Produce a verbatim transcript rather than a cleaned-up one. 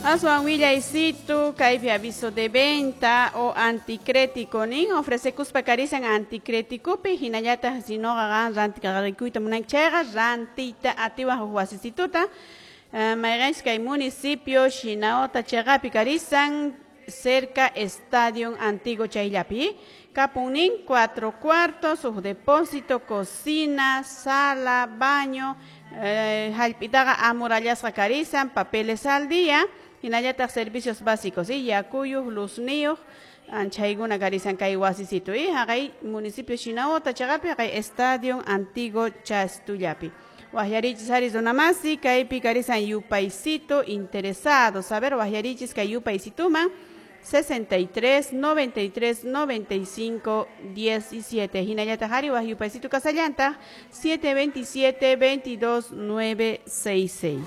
Aswan willaysitu kaypi aviso de venta o anticrético nin ofrecekuspa karisan anticréticopi hinallataq sinoqa qan rantiqarikuyta munanki chayqa rantiyta atiwaq huk wasisituta uh, mayqanchis kay municipio Shinaota chayqapi karisan cerca Estadio Antiguo chayllapi kapunnin cuatro cuartos huk depósito cocina sala baño eh, hallp'itaqa amurallasqa karisan papeles al día hinallataq servicios básicos y yakuyuq luzniyuq anchaykuna karisan kay wasisitu y haqay municipio Shinaota chayqapi haqay Estadio Antiguo Chastullapi Waqyarichis ari runamasi kaypi karisan yupaysito interesados a ver waqyarichis kay yupaysituman sesenta y tres, noventa y tres, noventa y cinco, diecisiete. Hinallataq ari waq yupaysito kasallantaq siete veintisiete, veintidós, nueve seis seis.